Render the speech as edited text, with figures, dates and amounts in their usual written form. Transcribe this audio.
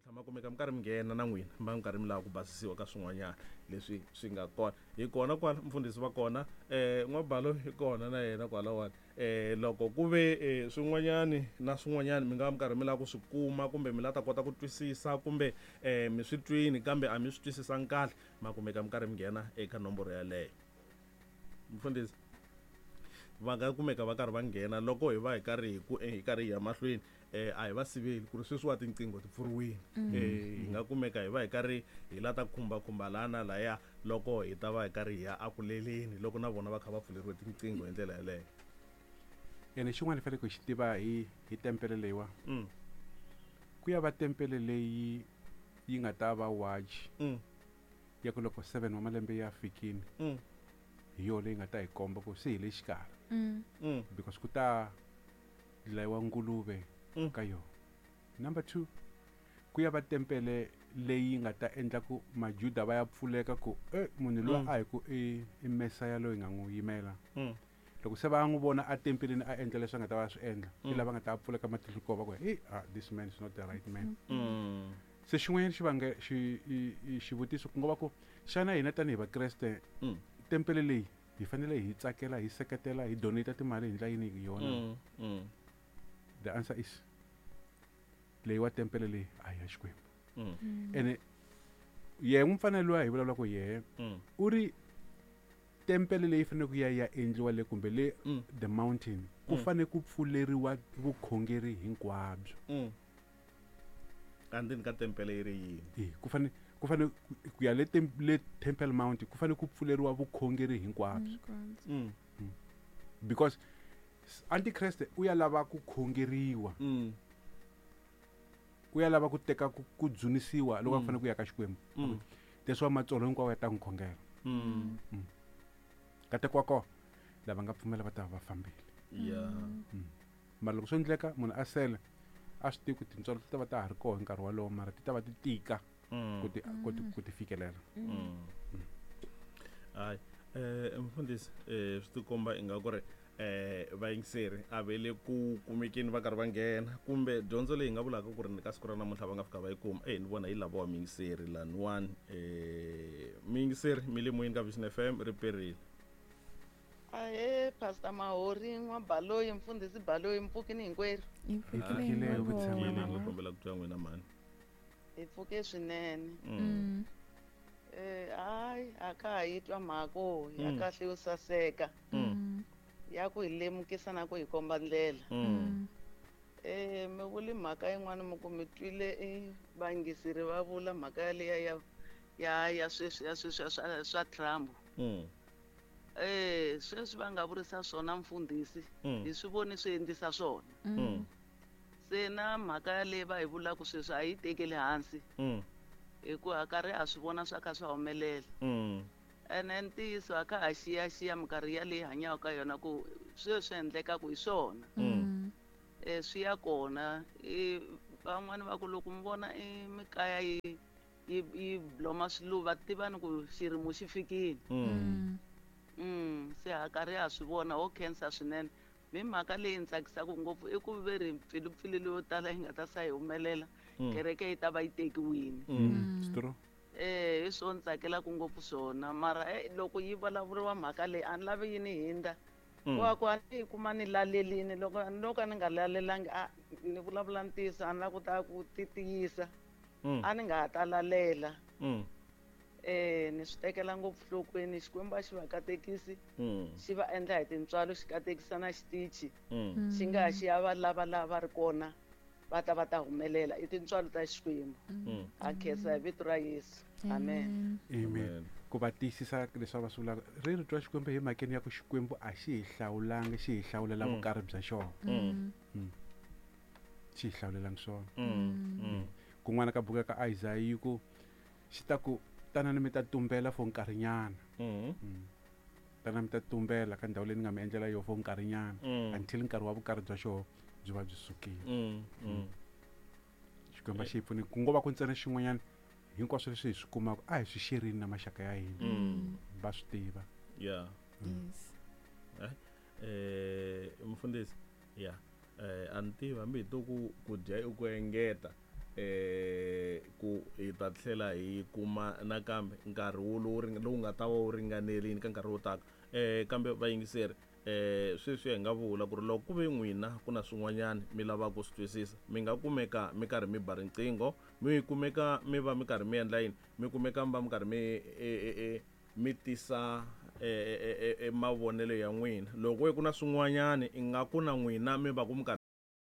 Namuntlha ma kumeka mi karhi mi nghena na n'wina mi va mi karhi mi lava ku basisiwa ka swin'wanyana leswi swi nga kona. Hi kona kwala mfundhisi va kona um n'wabalo hi kona na yena kwalawani. Um loko ku ve um swin'wanyani na swin'wanyani mi nga va mi karhi mi lava ku swi kuma kumbe mi la ta kota ku twisisa kumbe um mi swi twini kambe a mi swi twisisangi kahle, ma kumeka mi karhi mi nghena eka nomboro yaleyo. Mfundhisi va nga kumeka va karhi va nghena loko hi va hi karhi hi ku hi karhi hi ya mahlweni a hi va siveli ku ri sweswiwa tinqingho ti pfuriwile. Hi nga kumeka hi va hi karhi hi la ta khumbakhumba laha na laya loko hi ta va hi karhi hi ya akuleleni loko na vona va kha va pfuleriwe tinqingho hi ndlela yaleyo. Ene xin'wana hi faneleke hi xi tiva hi tempele leyiwa. Ku ya va tempele leyi yi nga ta va watch ya ku loko 7 wa malembe ya fikini hi yona leyi nga ta hi komba ku se hi le xikarhi. Because ku ta dlayiwa nguluve ka yona. Number 2, ku ya va tempele leyi nga ta endla ku majuda va ya pfuleka ku munhu loyi a hi ku i Mesaya loyi nga n'wi yimela. Loko se va n'wi vona a tempeleni a endla leswi a nga ta va swi endla, i lava nga ta pfuleka matihlo ko va ku hey, this man is not the right man. Se xin'wanyana xi xi xivutiso ku nga va ku xana hina tanihi Vakreste tempele leyi hi fanele hi tsakela, hi seketela, hi donate timali hi ndlela yini hi yona? The answer is leyi wa tempele leyi a hi ya Xikwembu. Ene yehe n'wi luya hi vulavula ku yehe u ri tempele leyi fanele ku ya ya endliwa le kumbe le the mountain ku fanele ku pfuleriwa vukhongeri hinkwabyo. Andzeni ka tempele yi ri yini? Ku fanele ku fanele ku ya le le Temple Mount ku fanele ku pfuleriwa vukhongeri hinkwabyo. Because Antichrist u ya lava ku khongeriwa. U ya lava ku teka ku dzunisiwa loko a fanele ku ya ka Xikwembu. Leswi wa matsolo hinkwawo ya ta n'wi khongela. Nkateko wa kona lava nga pfumela va ta va fambile. Mara loko swi endleka munhu a sele a swi tivi ku tintswalo ti ta va ta ha ri kona hi nkarhi wolowo, mara ti ta va ti tika ku ti fikelela. Hayi, mfundhisi, swi tikomba ingaku ri vayingiseri a ve le ku kumekeni va karhi va nghena kumbe dyondzo leyi nga vulaka ku ri ni ka siku ra namuntlha va nga fika va yi kuma. Ni vona yi lavawa miyingiseri laniwani. Miyingiseri mi le moyeni ka Vision FM ri perile. Ahe Pastor Mahori, n'wa Baloyi, mfundhisi Baloyi, mpfukini hinkwerhu. Hi pfukile, hi kombela ku twa n'wina mhani. Hi pfuke swinene. Hayi a ka ha yi twa mhaka ya kahle yo saseka. Ya ku hi lemukisa na ku hi komba ndlela. Mi vuli mhaka yin'wana mi ku mi twile vayingiseri va vula mhaka yaliya ya sweswi ya sweswi swa Trump. Sweswi va nga vurisa swona mfundhisi, hi swi voni swi endlisa swona. Se na mhaka yaleyi va hi vulaka sweswi a yi tekeli hansi. Hikuva karhi ha swi vona swa kha swa humelela. Ene ntiyiso a kha ha xiyaxiya minkarhi yaleyi hanyaka ka yona ku sweswi endlekaka hi swona. Swi ya kona. Van'wani va ku loko mi vona mikaya yi bloma swiluva tivani ku xirimo xi fikile. Se ha karhi ha swi vona, ho khensa swinene. Mi mhaka leyi ni tsakisaka ngopfu i ku ve ri mpfilupfilu leyo tala yi nga ta sa yi humelela, kereke yi ta va yi tekiwile. Hi swona ni tsakelaka ngopfu swona, mara loko yi vulavuriwa mhaka leyi a ni lavi yi ni hindza. Wa ku a ni yi kuma ni lalelini, loko no ka ni nga lalelangi a ni vulavula ntiyiso a ni lava ku ta ku ti tiyisa. A ni nga ha ta lalela. Ni swi tekela ngopfu nhlokweni, Xikwembu a xi va katekisi, xi va endla hi tintswalo, xi katekisa na xitichi. Xi nga ha xi ya va lava lava va ri kona va ta va ta humelela. I tintswalo ta Xikwembu. Ha khensa hi vito ra Yesu. Amen. Amen. Ku va tiyisisa leswi va swi vulaka, ri rito ra Xikwembu hi mhakeni ya ku Xikwembu a xi hi hlawulangi, xi hi hlawulela vukarhi bya xona. Xi hi hlawulelangi swona. Kun'wana ka buku ka Isaiah yi ku xi ta ku tanani mi ta tumbela for nkarhinyana. Tanani mi ta tumbela ka ndhawu leyi ni nga mi endlela yona for nkarhinyana until nkarhi wa vukarhi bya xona byi va byi sukile. Xikwembu xi hi pfuni ku ngo va ku ntsena xin'wanyana hinkwaswo leswi hi swi kumaka a hi swi xerini na maxaka ya hina. Va swi tiva. Yes. Mfundhisi, a ni tivi hambi hi to ku dya i ku engeta. Ku hi ta tlhela hi kuma nakambe nkarhi wo lowu lowu nga ta va wu ringanerile ka nkarhi wo taka. Kambe vayingiseri, sweswi hi nga vula ku ri loko ku ve n'wina ku na swin'wanyana mi lavaka ku swi twisisa, mi nga kumeka mi karhi mi ba riqingho, mi kumeka mi va mi karhi mi endla yini, mi kumeka mi va mi karhi mi mi tisa mavonelo ya n'wina. Loko ku na swin'wanyana ingaku na n'wina mi va ku mi karhi